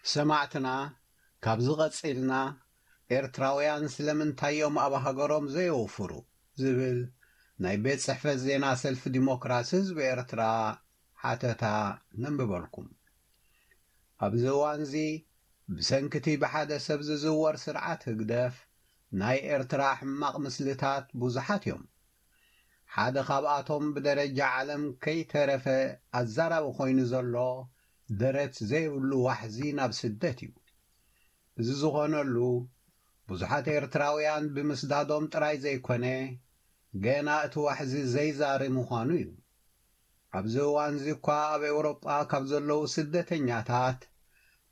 ሰማዕትና፣ ካብዚ ቀጺልና፣ ኤርትራውያን ስለምንታይ እዮም ኣብ ሃገሮም ዘየውፍሩ? ዝብል ናይ ቤት ጽሕፈት ዜና ሰልፊ ዲሞክራሲ ህዝቢ ኤርትራ ሓተታ ነንብበልኩም። ኣብዚ እዋንዚ፣ ብሰንክቲ ብሓደ ሰብ ዝዝወር ስርዓት ህግደፍ፣ ናይ ኤርትራ ሕማቕ ምስልታት ብዙሓት እዮም። ሓደ ካብኣቶም ብደረጃ ዓለም ከይተረፈ ኣዛራቢ ኮይኑ ዘሎ፣ ደረት ዘይብሉ ዋሕዚ ናብ ስደት እዩ። እዚ ዝኾነሉ፣ ብዙሓት ኤርትራውያን ብምስዳዶም ጥራይ ዘይኮነ፣ ገና እቲ ዋሕዚ ዘይዛሪ ምዃኑ እዩ። ኣብዚ እዋንዚ እኳ ኣብ ኤውሮጳ ካብ ዘለዉ ስደተኛታት፣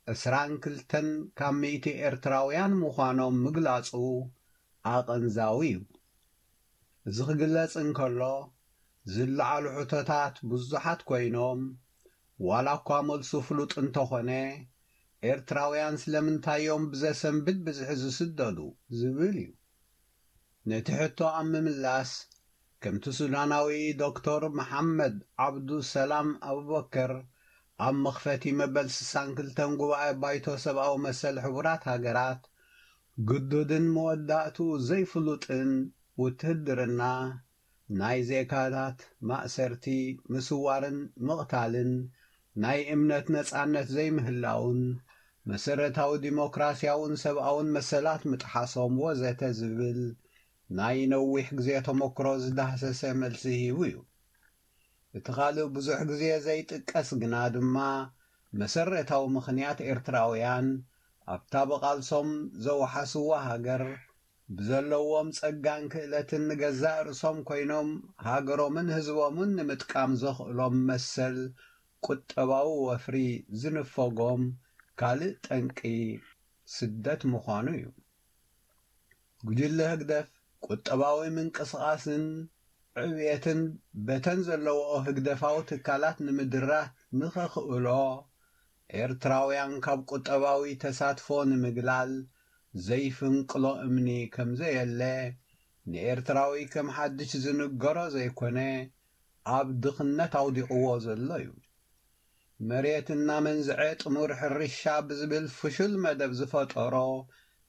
ዕስራን ክልተን ካብ ሚእቲ ኤርትራውያን ምዃኖም ምግላጹ ኣቐንዛዊ እዩ። እዚ ክግለጽ እንከሎ፣ ዝለዓሉ ሕቶታት ብዙሓት ኮይኖም፣ ዋላ እኳ መልሱ ፍሉጥ እንተኾነ፣ ኤርትራውያን ስለምንታይ እዮም ብዘሰንብድ ብዝሒ ዝስደዱ? ዝብል እዩ። ነቲ ሕቶ ኣብ ምምላስ፣ ከምቲ ሱዳናዊ ዶክተር መሓመድ ዓብዱ ሰላም ኣቡበከር ኣብ መኽፈቲ መበል ስሳን ክልተን ጉባኤ ባይቶ ሰብኣዊ መሰል ሕቡራት ሃገራት፣ ግዱድን መወዳእትኡ ዘይፍሉጥን ውትህድርና፣ ናይ ዜጋታት ማእሰርቲ፣ ምስዋርን ምቕታልን፣ ናይ እምነት ነጻነት ዘይምህላውን፣ መሰረታዊ ዲሞክራስያውን ሰብኣውን መሰላት ምጥሓሶም ወዘተ ዝብል ናይ ነዊሕ ግዜ ተመክሮ ዝዳህሰሰ መልሲ ሂቡ እዩ። እቲ ካልእ ብዙሕ ግዜ ዘይጥቀስ ግና ድማ መሰረታዊ ምኽንያት ኤርትራውያን ኣብታ ብቓልሶም ዘውሓስዋ ሃገር ብዘለዎም ጸጋን ክእለትን ንገዛእ ርእሶም ኮይኖም ሃገሮምን ህዝቦምን ንምጥቃም ዘኽእሎም መሰል ቁጠባዊ ወፍሪ ዝንፈጎም ካልእ ጠንቂ ስደት ምዃኑ እዩ። ጉጅለ ህግደፍ ቁጠባዊ ምንቅስቓስን ዕብየትን በተን ዘለዎኦ ህግደፋዊ ትካላት ንምድራት ንኸኽእሎ፣ ኤርትራውያን ካብ ቁጠባዊ ተሳትፎ ንምግላል ዘይፍንቅሎ እምኒ ከም ዘየለ፣ ንኤርትራዊ ከም ሓድሽ ዝንገሮ ዘይኮነ፣ ኣብ ድኽነት ኣውዲቕዎ ዘሎ እዩ። መሬት እናመንዝዐ ጥሙር ሕርሻ ብዝብል ፍሹል መደብ ዝፈጠሮ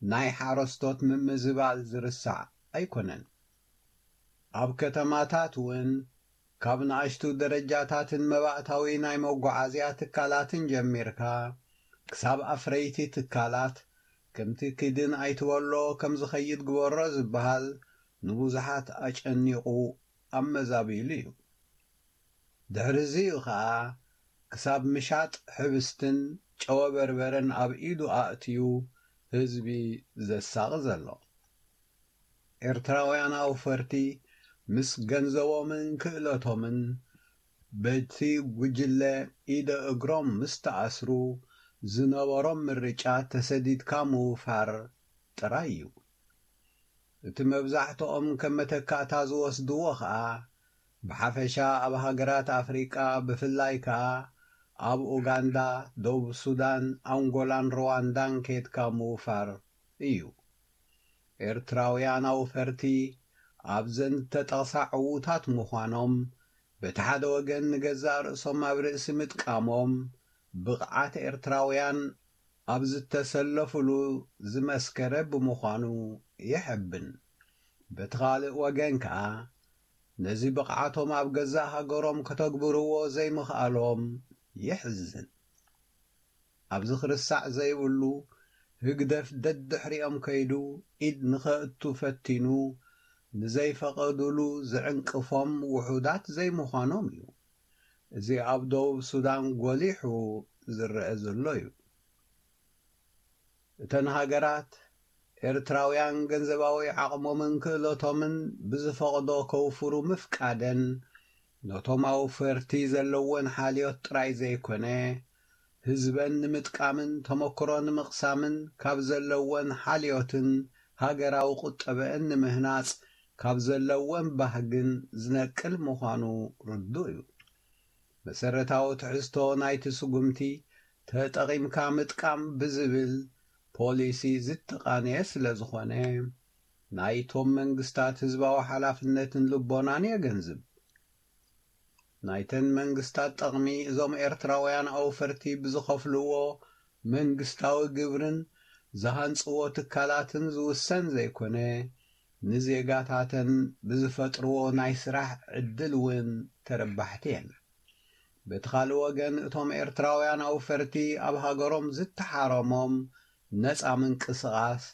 ናይ ሓረስቶት ምምዝባል ዝርሳዕ ኣይኮነን። ኣብ ከተማታት እውን ካብ ንኣሽቱ ደረጃታትን መባእታዊ ናይ መጓዓዝያ ትካላትን ጀሚርካ፣ ክሳብ ኣፍረይቲ ትካላት፣ ከምቲ ኪድን ኣይትበሎ ከም ዝኸይድ ግበሮ ዝበሃል ንብዙሓት ኣጨኒቑ ኣመዛቢሉ እዩ። ድሕሪ እዚ እዩ ኸኣ ክሳብ ምሻጥ ሕብስትን ጨወ በርበረን ኣብ ኢዱ ኣእትዩ ህዝቢ ዘሳቒ ዘሎ። ኤርትራውያን ኣውፈርቲ ምስ ገንዘቦምን ክእለቶምን በቲ ጉጅለ ኢደ እግሮም ምስ ተኣስሩ ዝነበሮም ምርጫ ተሰዲድካ ምውፋር ጥራይ እዩ። እቲ መብዛሕትኦም ከም መተካእታ ዝወስድዎ ኸኣ ብሓፈሻ ኣብ ሃገራት ኣፍሪቃ ብፍላይ ከኣ ኣብ ኡጋንዳ፣ ደቡብ ሱዳን፣ ኣንጎላን ሩዋንዳን ኬድካ ምውፋር እዩ። ኤርትራውያን ኣውፈርቲ ኣብዘን እተጠቕሳ ዕዉታት ምዃኖም በቲ ሓደ ወገን ንገዛእ ርእሶም ኣብ ርእሲ ምጥቃሞም ብቕዓት ኤርትራውያን ኣብ ዝተሰለፉሉ ዝመስከረ ብምዃኑ የሐብን። በቲ ካልእ ወገን ከኣ ነዚ ብቕዓቶም ኣብ ገዛእ ሃገሮም ከተግብርዎ ዘይምኽኣሎም የሕዝን። ኣብዚ ክርሳዕ ዘይብሉ ህግደፍ ደድሕሪኦም ከይዱ ኢድ ንኸእቱ ፈቲኑ ንዘይፈቐዱሉ ዝዕንቅፎም ውሑዳት ዘይምዃኖም እዩ። እዚ ኣብ ደቡብ ሱዳን ጎሊሑ ዝረአ ዘሎ እዩ። እተን ሃገራት ኤርትራውያን ገንዘባዊ ዓቕሞምን ክእለቶምን ብዝፈቕዶ ከውፍሩ ምፍቃደን ነቶም ኣውፈርቲ ዘለወን ሓልዮት ጥራይ ዘይኮነ ህዝበን ንምጥቃምን ተመክሮ ንምቕሳምን ካብ ዘለወን ሓልዮትን ሃገራዊ ቁጠበአን ንምህናጽ ካብ ዘለወን ባህግን ዝነቅል ምዃኑ ርዱእ እዩ። መሰረታዊ ትሕዝቶ ናይቲ ስጉምቲ ተጠቒምካ ምጥቃም ብዝብል ፖሊሲ ዝተቓነየ ስለ ዝኾነ ናይቶም መንግስታት ህዝባዊ ሓላፍነትን ልቦናን የገንዝብ። ናይተን መንግስታት ጠቕሚ እዞም ኤርትራውያን ኣውፈርቲ ብዝኸፍልዎ መንግስታዊ ግብርን ዝሃንጽዎ ትካላትን ዝውሰን ዘይኮነ፣ ንዜጋታተን ብዝፈጥርዎ ናይ ስራሕ ዕድል እውን ተረባሕቲ እየን። በቲ ካልእ ወገን፣ እቶም ኤርትራውያን ኣውፈርቲ ኣብ ሃገሮም ዝተሓረሞም ነጻ ምንቅስቓስ፣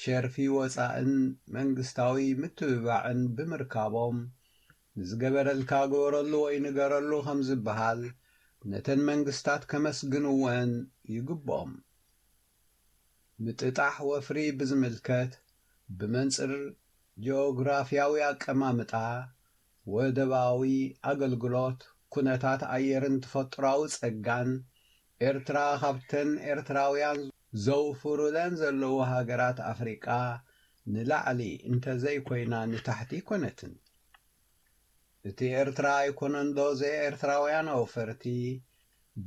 ሸርፊ ወጻእን መንግስታዊ ምትብባዕን ብምርካቦም፣ ንዝገበረልካ ግበረሉ ወይ ንገረሉ ከም ዝበሃል፣ ነተን መንግስታት ከመስግንወን ይግብኦም። ምጥጣሕ ወፍሪ ብዝምልከት፣ ብመንጽር ጂኦግራፍያዊ ኣቀማምጣ፣ ወደባዊ ኣገልግሎት፣ ኩነታት ኣየርን ተፈጥሮኣዊ ጸጋን፣ ኤርትራ ካብተን ኤርትራውያን ዘውፍሩለን ዘለዉ ሃገራት ኣፍሪቃ ንላዕሊ እንተዘይኮይና ንታሕቲ ኣይኮነትን። እቲ ኤርትራ ኣይኮነንዶ ዘይኤርትራውያን ኣውፈርቲ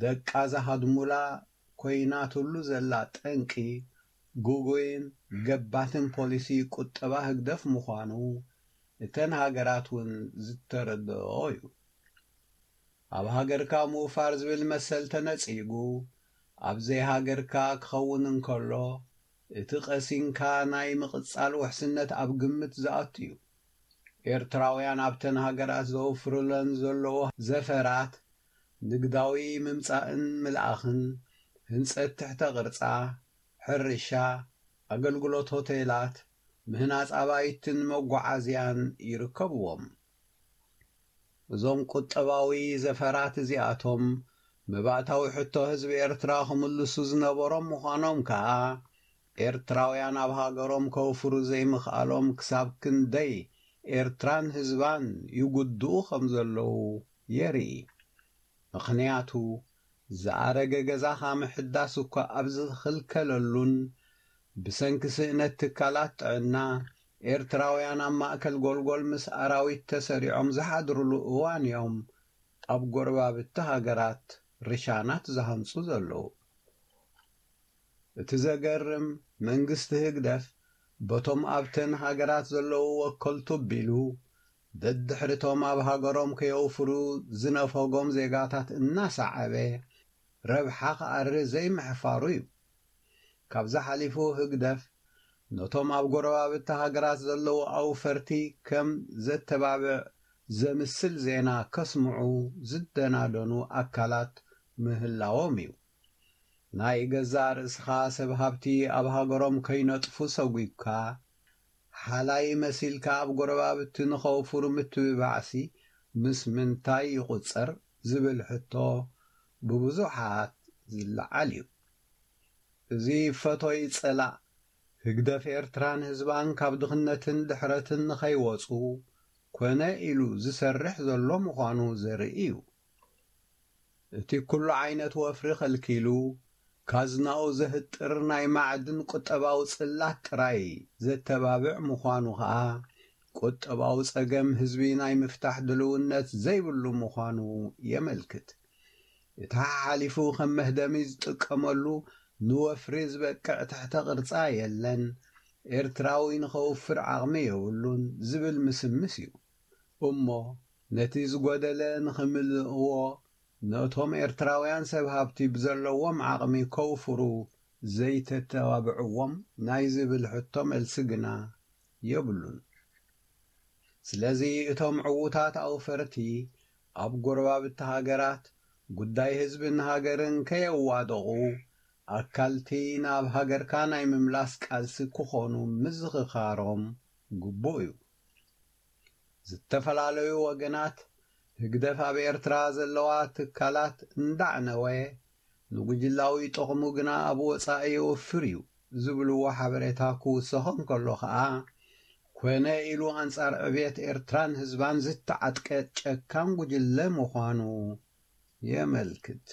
ደቃ ዝሃድሙላ ኮይናትሉ ዘላ ጠንቂ፣ ግጉይን ገባትን ፖሊሲ ቁጠባ ህግደፍ ምዃኑ እተን ሃገራት እውን ዝተረድኦ እዩ። ኣብ ሃገርካ ምውፋር ዝብል መሰል ተነጺጉ፣ ኣብ ዘይሃገርካ ክኸውን እንከሎ፣ እቲ ቀሲንካ ናይ ምቕጻል ውሕስነት ኣብ ግምት ዝኣቱ እዩ። ኤርትራውያን ኣብተን ሃገራት ዘውፍሩለን ዘለዉ ዘፈራት፣ ንግዳዊ ምምጻእን ምልኣኽን፣ ህንጸት ትሕተ ቅርጻ፣ ሕርሻ፣ ኣገልግሎት ሆቴላት፣ ምህናጽ ኣባይትን መጓዓዝያን ይርከብዎም። እዞም ቁጠባዊ ዘፈራት እዚኣቶም፣ መባእታዊ ሕቶ ህዝቢ ኤርትራ ክምልሱ ዝነበሮም ምዃኖም ከኣ፣ ኤርትራውያን ኣብ ሃገሮም ከውፍሩ ዘይምኽኣሎም ክሳብ ክንደይ ኤርትራን ህዝባን ይጉድኡ ከም ዘለዉ የርኢ። ምኽንያቱ፣ ዝኣረገ ገዛኻ ምሕዳስ እኳ ኣብ ዝኽልከለሉን፣ ብሰንኪ ስእነት ትካላት ጥዕና፣ ኤርትራውያን ኣብ ማእከል ጎልጎል ምስ ኣራዊት ተሰሪዖም ዝሓድሩሉ እዋን እዮም ኣብ ጎረባብቲ ሃገራት ርሻናት ዝሃንጹ ዘለዉ። እቲ ዘገርም፣ መንግስቲ ህግደፍ በቶም ኣብተን ሃገራት ዘለዉ ወከልቱ ኣቢሉ፣ ደድሕሪቶም ኣብ ሃገሮም ከየውፍሩ ዝነፈጎም ዜጋታት እናሰዓበ፣ ረብሓ ክኣሪ ዘይምሕፋሩ እዩ። ካብዚ ሓሊፉ ህግደፍ ነቶም ኣብ ጎረባብቲ ሃገራት ዘለዉ ኣውፈርቲ ከም ዘተባብዕ ዘምስል ዜና ከስምዑ ዝደናደኑ ኣካላት ምህላዎም እዩ። ናይ ገዛእ ርእስኻ ሰብ ሃብቲ ኣብ ሃገሮም ከይነጥፉ ሰጒግካ፣ ሓላይ መሲልካ ኣብ ጎረባብቲ ንኸውፍሩ ምትብባዕሲ ምስ ምንታይ ይቑጸር ዝብል ሕቶ ብብዙሓት ዝለዓል እዩ። እዚ ፈቶይ ጸላእ ህግደፍ ኤርትራን ህዝባን ካብ ድኽነትን ድሕረትን ንኸይወጹ ኮነ ኢሉ ዝሰርሕ ዘሎ ምዃኑ ዘርኢ እዩ። እቲ ኩሉ ዓይነት ወፍሪ ከልኪሉ፣ ካዝናኡ ዘህጥር ናይ ማዕድን ቁጠባዊ ጽላት ጥራይ ዘተባብዕ ምዃኑ ኸኣ፣ ቁጠባዊ ጸገም ህዝቢ ናይ ምፍታሕ ድልውነት ዘይብሉ ምዃኑ የመልክት። እቲ ሓሓሊፉ ከም መህደሚ ዝጥቀመሉ ንወፍሪ ዝበቅዕ ትሕተ ቅርጻ የለን፣ ኤርትራዊ ንኸውፍር ዓቕሚ የብሉን ዝብል ምስምስ እዩ። እሞ ነቲ ዝጎደለ ንኽምልእዎ፣ ነቶም ኤርትራውያን ሰብ ሃብቲ ብዘለዎም ዓቕሚ ከውፍሩ ዘይተተባብዕዎም ናይ ዝብል ሕቶ መልሲ ግና የብሉን። ስለዚ እቶም ዕዉታት ኣውፈርቲ ኣብ ጎረባብቲ ሃገራት ጉዳይ ህዝብን ሃገርን ከየዋደቑ፣ ኣካልቲ ናብ ሃገርካ ናይ ምምላስ ቃልሲ ክኾኑ ምዝኽኻሮም ግቡእ እዩ። ዝተፈላለዩ ወገናት ህግደፍ ኣብ ኤርትራ ዘለዋ ትካላት እንዳዕነወ፣ ንጉጅላዊ ጥቕሙ ግና ኣብ ወጻኢ የወፍር እዩ ዝብልዎ ሓበሬታ ክውሰኾ እንከሎ ኸኣ፣ ኮነ ኢሉ ኣንጻር ዕብየት ኤርትራን ህዝባን ዝተዓጥቀ ጨካን ጉጅለ ምዃኑ የመልክት።